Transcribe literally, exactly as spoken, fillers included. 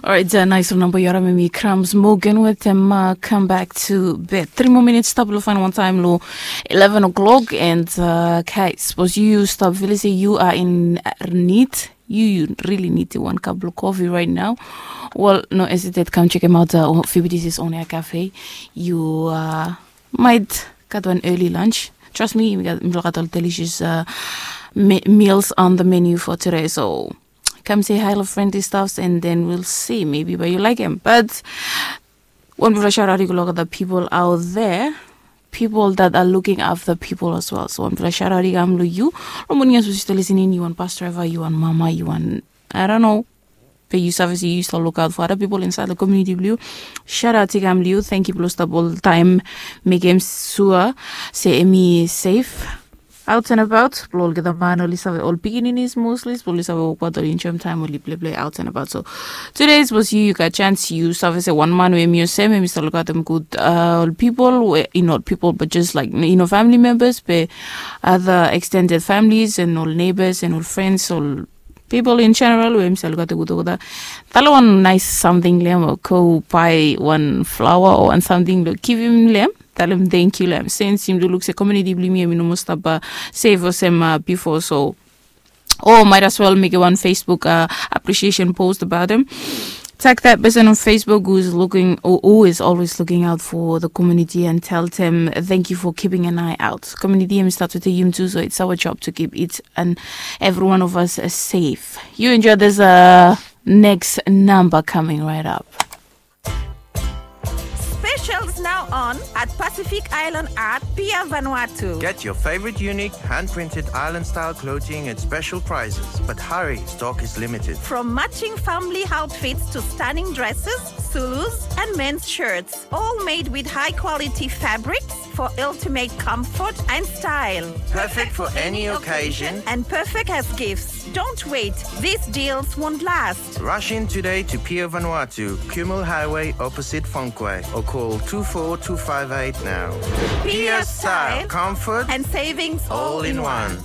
Alright, uh, nice number. You're me, Crumbs Morgan with them. Uh, come back to bed. Three more minutes. Stop lo fine one time lo eleven o'clock. And uh, okay, suppose you stop. Let's say you are in need. You, you really need one cup of coffee right now. Well, no hesitate. Come check him out. Uh, F B T's is on air cafe. You uh, might gat one early lunch. Trust me, we got, we got all delicious uh, me- meals on the menu for today. So come say hi to friendly stuffs, and then we'll see maybe where you like him. But one big shout out to all the people out there, people that are looking after people as well. So one big shout out to you. Romania supposed to listening. You want bus driver, you want mama, you want, I don't know. But you service, you used to look out for other people inside the community blue. Shout out to Gam Liu. Thank you, Blue Stop, all the time. Make him sure say Emi is safe. Out and about, blo olgeta man oli save ol pikininis mostly, blo oli save wokbaot oli enjoy time oli pleplei out and about. So today suppose you, you gat chance, you save se wan man we hemi olsem, hemi stap lukaotem gud uh, ol pipol we, not ol pipol, but just like, you know, family members, be other extended families and ol neighbors and ol friends, ol pipol in general we hemi stap lukaotem gud olgeta. Talem wan nice samting lo hem, o go bae wan flower o wan samting lo givim lo hem. Talem thank you lo hem. Since yumi do luk se community blo yumi hemi no moa stap uh, safe olsem uh, before, so or might as well make wan Facebook uh, appreciation post about him. Tag that person on Facebook who is looking or who is always looking out for the community and tell them thank you for keeping an eye out. Community hemi start with a yum too, so it's our job to keep each and every one of us uh, safe. You enjoy this uh, next number coming right up. Specials now on at Pacific Island Art, Pier Vanuatu. Get your favorite unique hand-printed island-style clothing at special prices. But hurry, stock is limited. From matching family outfits to stunning dresses, Zulus, and men's shirts, all made with high-quality fabrics for ultimate comfort and style. Perfect for any occasion. And perfect as gifts. Don't wait, these deals won't last. Rush in today to Pier Vanuatu, Kumul Highway opposite Fonque, or call two four two five eight now. Pier Style, comfort, and savings all in one.